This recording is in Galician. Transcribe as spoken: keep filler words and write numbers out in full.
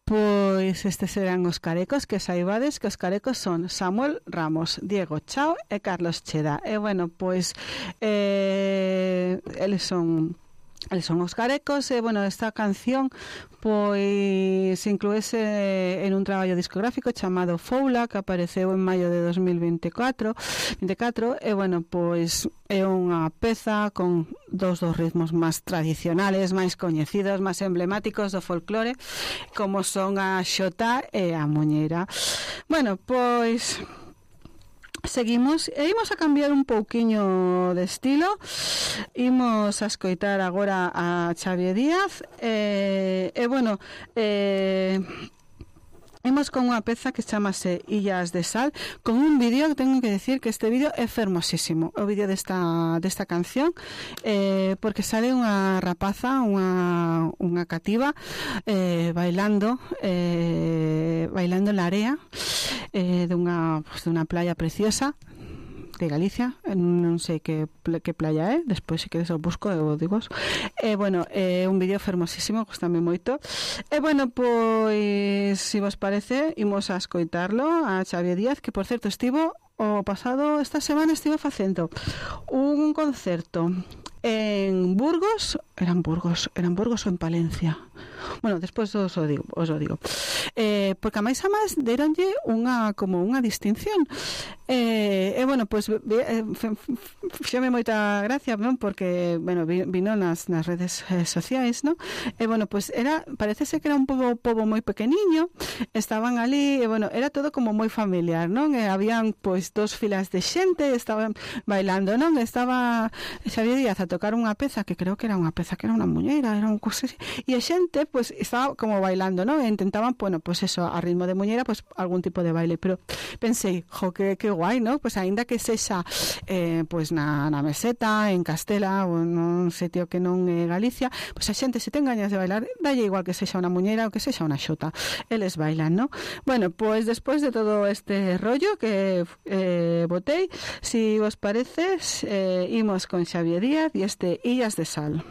pois estes serán os carecos, que saibades que os carecos son Samuel Ramos, Diego Chao e Carlos Cheda. E bueno, pois eh, eles son eles son os carecos. E bueno, esta canción pois incluese en un traballo discográfico chamado Foula, que apareceu en maio de dos mil veinticuatro veinticuatro. E bueno, pois é unha peza con dos dos ritmos máis tradicionales, máis coñecidos, máis emblemáticos do folclore, como son a xota e a muñeira. Bueno, pois seguimos e imos a cambiar un pouquiño de estilo. Imos a escoitar agora a Xavier Díaz e, e bueno, eh imos con unha peza que chamase Illas de Sal, con un vídeo que tengo que decir que este vídeo é fermosísimo, o vídeo desta, desta canción, eh, porque sale unha rapaza, unha, unha cativa, eh, bailando, eh, bailando en la area, eh, de unha, pues, de unha playa preciosa de Galicia, non sei que, que playa é, despois se queres o busco e o digo. E bueno, é un vídeo fermosísimo, gustame moito. E bueno, pois se vos parece, imos a escoitarlo a Xavier Díaz, que por certo estivo o pasado, esta semana estivo facendo un concerto en Burgos, eran Burgos, eran Burgos ou en Palencia. Bueno, despois os o digo, os o digo. Eh, porque a máis a máis deronlle unha como unha distinción. Eh, e bueno, pois pues, eh, fixeme moita gracia, non? Porque, bueno, vino nas, nas redes eh, sociais, non? E bueno, pois pues era, parecese que era un pobo, pobo moi pequeniño, estaban ali, e bueno, era todo como moi familiar, non? E habían, pois, dos filas de xente, estaban bailando, non? Estaba Xavier Díaz a tocar unha peza, que creo que era unha peza, que era unha muñeira, era un cousa así, e a xente, pois, pues, estaba como bailando, non? E intentaban, bueno, pois pues eso, a ritmo de muñeira, pois, pues, algún tipo de baile, pero pensei, jo, que, que guai, ¿no? Pois aínda que sexa eh, pois na, na meseta, en Castela ou nun sitio que non é Galicia, pois a xente se ten gañas de bailar, dalle igual que sexa unha muñeira ou que sexa unha xota, eles bailan, ¿no? Bueno, pois despois de todo este rollo que eh, botei, si vos parece, eh, imos con Xavier Díaz e este Illas de Sal.